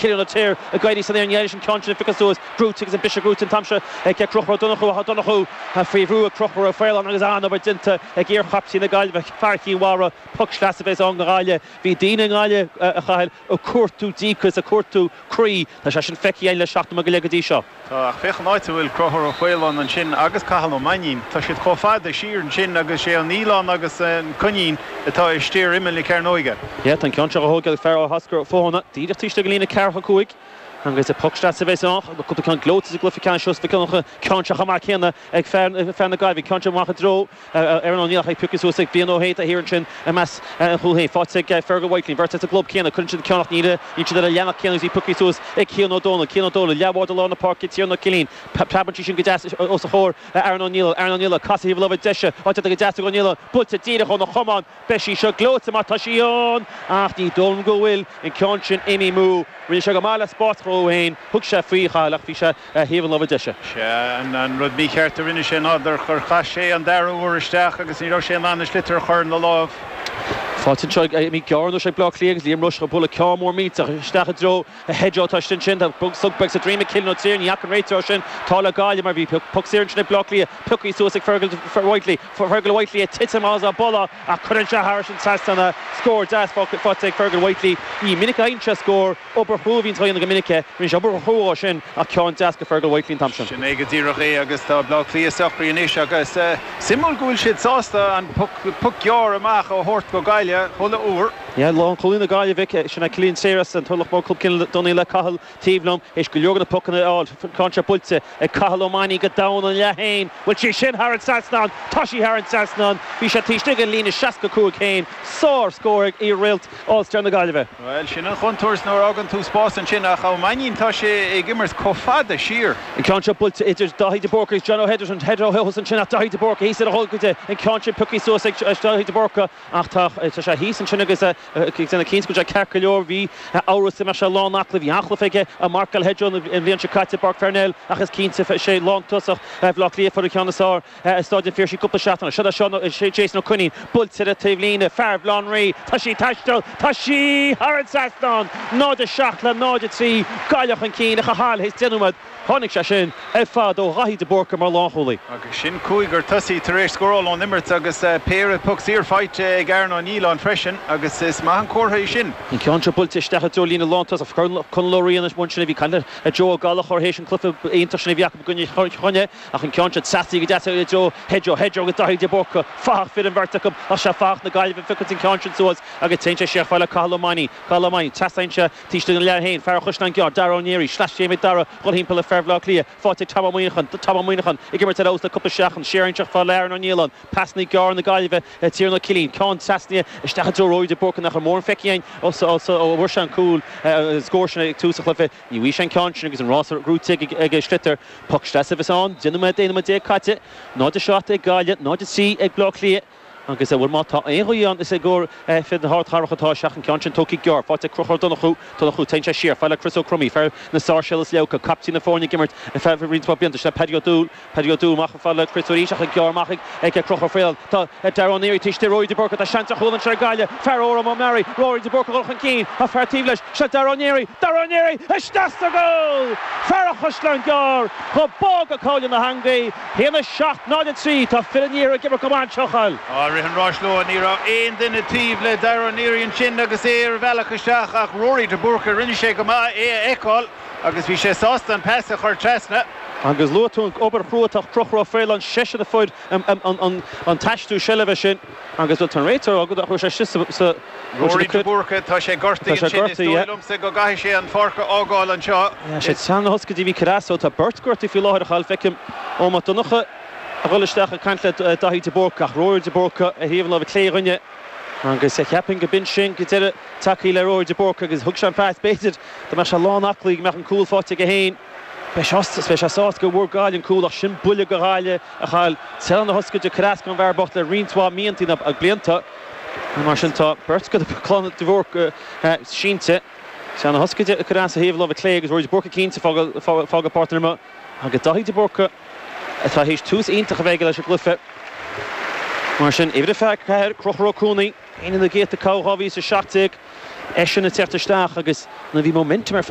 Cillian Ó Tuathail ag éirí san aer, ní éireoidh an ceann sin a phiocadh suas. Gnóite agus an briseadh gnóite an t-am seo ag Conchúr Ó Donnchú ach Ó Donnchú faoi bhrú ag Conchúr Ó Faoláin agus an-obair déanta ag iar-chaiptín na Gaillimhe, fear Chinn Mhara, poc sleasa a bheas ann do Ghaillimh. Bhí daoine i nGaillimh, a Chathail, ag cuartú díocas, ag cuartú croí. Tá sé sin feicthe againn le seachtain go leith go dtí seo. Tá, ach féach an áit a bhfuil Conchúr Ó Faoláin ansin agus Cathal Ó Mainnín. Tá siad chomh fada siar ansin agus sé an Nialán agus an Coinín atá istigh ar imeall na cearnóige. Yeah, tá an ceann seo á thógáil ag fear Oscar Fothana, díreach taobh istigh den líne ceathracha 5 agus poc sleasa a bheas ann. Cúpla ceann gleoite sa gcluiche ceannais seo, an ceann seo chomh maith céanna ag fear na Gaillimhe, ceann seo amach i dtreo Aaron O'Neill ach é pioctha suas ag Brian Ó hAodha atá thiar ansin i measc an chúil féin. Faighte ag Fergal Whitely, an bheirt as an gclub céanna. Cuireann siad an ceann ach níl siad ar an leathanach céanna agus í pioctha suas ag Cian Ó Dónaill. Cian Ó Dónaill, leathbhád i lár na páirce, Tiarnan Ó Cillín. Preabann sí sin go deas os a chomhair Aaron O'Neill. Aaron O'Neill ag casadh thaobh na láimhe deise. Á déanta go deas ag O'Neill. Buailte díreach óna chamán. Beidh sí seo gleoite má tá sí ann ach ní dóigh liom go bhfuil an ceann sin imithe amú. Rinne sé go maith le spás a chruthú féin. Thug sé faoi, a Chathail, ach bhí sé ar thaobh an láimhe deise. Sea, an rud mícheart a rinne sé ná gur chaith sé an dara huair isteach agus ní raibh sé in ann an sliotar a chur ina lámh. Faighte anseo ag imithe gearr anois ag Bleá Cliath agus Liam Rushe ag bualadh ceann mór millteach isteach i dtreo Hedgehoe atá istigh ansin. Tá slog beag sa droim ag Cillian Ó Triain, ní fhaca an réiteoir sin. Tá le Gaillimh mar bhí poc saor ansin ag Bleá Cliath, pioctha suas ag Fergal Whitely. Fergal Whitely ag titim as a boladh ach cuireann sé thairis an trasnán é. Scór deas faighte ag Fergal Whitely. Ní minic a fhaigheann sé scór. Obair chrua a bhíonns á dhéanamh go minic aige. Rinne sé obair chrua dhó sin ach ceann deas go Fergal Whitely an t-am sin. Sin é go díreach é agus tá Bleá Cliath socraithe anois agus suimiúil go bhfuil siad sásta an poc gearr amach a thabhairt go Gaillimh chuile uair. Yeah, lánchúlaí na Gaillimhe, sin é Cillian Trier as an Turlach Mór, Club Chill Donnaill le Cathal taobh liom, théis go leor de na pocanna a fháil. Ceann seo buailte ag Cathal Ó Mainnín go domhan an leath féin. Bhfuil sí sin thar an trasnán? Tá sí thar an trasnán! Bhí sé taobh istigh den líne 65 féin. Sár scór ag iar-réalt All Star na Gaillimhe. Bhuel, sin an chontúirt nuair a fhágann tú spás ansin ach Ó Mainnín, tá sé ag imirt chomh fada siar. An ceann seo buailte idir Daithí de Búrca agus John O'Henderson. Header ó thuas ansin ach Daithí de Búrca thíos ar a gholgaide. An ceann sin pioctha suas ag Daithí de Búrca ach tá sé thíos ansin agus ag déanamh cinnte go bhfuil sé ceart go leor. Bhí amhras an mbeadh sé lán aclaí. Bhí an-chluiche aige ag marcáil Hedgehoe an bhliain seo caite i bPáirc Pharnell ach is cinnte is é lántosach Bhaile Átha Cliath a fuair an ceann is fearr. I Stáid an Phiarsaigh cúpla seachtain ó seo. Seo Jason Ó Coinín buailte ar an taobhlíne. Fear Bhaile Átha an Rí. Tá sí ag taisteal. Tá sí thar an trasnán! 0-7 le 0-3. Gaillimh chun cinn a Chathail théis 10 nóiméad. Tháinig sé sin ar fad ó Dhaithí de Búrca mar lánchúlaí. Agus sin cúigear tosaí tar éis scóráil ón imirt agus péire poc saor faighte ag Aaron Ó Nialláin freisin agus is maith an comhartha é sin. An ceann seo buailte isteach i dtreo líne lántosach. Conall Ó Riain ansin a bhí ag caint le Joe Ó Gallchóir théis an cluiche iontach sin a bhí acu i gcoinne Chainnigh. Ach an ceann seo trasnaithe go deas i dtreo Hedgehoe, Hedgehoe agus Daithí de Búrca, fathach fir an bheirt acu ach sé fathach na Gaillimhe a phiocann an ceann sin suas agus téann sé siar chomh fada le Cathal Ó Mainnín, Cathal Ó Mainnín, trasnaíonn sé taobh istigh den leath féin, fear an Chaisleáin Ghearr, Dara Ó Neary, sleaschéim ag Dara dhul thimpeall ar fear Bhaile Átha Cliath, faighte ag Tom Ó Muineacháin, Tom Ó Muineacháin ag imirt ar fheabhas le cúpla seachtain, siar anseo chomh fada le Aaron Ó Nialláin, pasanna gearra na Gaillimhe le Tiarnan Ó Cillín, ceann trasnaithe isteach i dtreo Rory de Búrca nach raibh mórán feicthe againn ó fuair sé an cúl, an scór sin ag tús an chluiche. Ní bhfaighidh sé an ceann sin agus an rás gnóite ag sliotar. Poc sleasa a bheas ann. 10 nóiméad, 11 nóiméad caite. 0-7 ag Gaillimh, 0-3 ag Bleá Cliath. Agus, bhuel, má tá aon ghaoth ann, is i gcomhair fir na hardchathrach atá sé ach an ceann sin tógtha gearr. Faighte ag Conchúr Ó Donnchú. Donnchú, téann sé siar. Fad le Chris Ó Cromaí, fear na Sáirséal is Leabhca, caiptín na foirne ag imirt ar feadh roinnt mhaith blianta. Sin é Paddy Ó Dúill. Paddy Ó Dúill amach fad le Chris arís ach gearr amach ag Conchúr Ó Faoláin. Tá Dara Ó Neary taobh istigh Rory de Búrca. Tá seans ar chúl anseo ag Gaillimh. Fear Órán O'Mearaí. Rory de Búrca ag dul chun cinn. Tá fear taobh leis. Seo Dara Ó Neary. Dara Ó Neary! Isteach sa gcúl! Fear an Chaisleáin Ghearr! Chomh bog go cabhail na heangaí. 1, 7, 0, 3. Tá fir an iarthair ag imirt go maith anseo, a Chathail. Á, rith an ráis leo. Ní raibh aon duine taobh le Dara Ó Neary ansin agus é ar a bhealach isteach ach Rory de Búrca. Rinne sé go maith é a fheiceáil. Agus bhí sé sásta an pas a chur trasna. Agus luaigh tú an obair chrua atá Conchúr Ó Faoláin, seisean a fuair an t-aistriú seilbhe sin agus bhuel tá an réiteoir agat ach raibh sé istigh sa. Rory de Búrca, tá sé gortaithe ansin, is dóigh liomsa go gcaithfidh sé an pháirc a fhágáil anseo. Sé Seán na hOscaidí a bhí Carrasso, tá beirt gortaithe faoi láthair a Chathail, feicim Eoin Mac Donncha a dhul isteach ag caint le Daithí de Búrca ach Rory de Búrca ar thaobh an láimhe clé dhúinne agus cheapfainn go b'in sin go deireadh tagtha le Rory de Búrca agus thug sé an phas b'fhéidir Dá mbeadh sé lán aclaí go mbeadh an cúl faighte aige féin. Beidh sé beidh sé sásta go bhfuair Gaillimh an cúl ach sin buille go Ghaillimh a Chathail. Téann na hOscaide ag cur as don bhfear bocht le roinnt mhaith míontaí nó blianta. Mar sin tá beirt de chlann de Bhúrc sínte. Téann na hOscaide ag cur as ó thaobh láimhe clé agus Rory de Búrca cinnte fágáil páirc na himeartha. Agus Daithí de Búrca atá théis tús iontach a bheith aige leis an gcluiche. Mar sin, uimhir a 4, Conchúr Ó Cuanaigh. Ceann de na gcéadta toghadh 2017, eisean ag teacht isteach agus nuair a bhí momentum ar fad.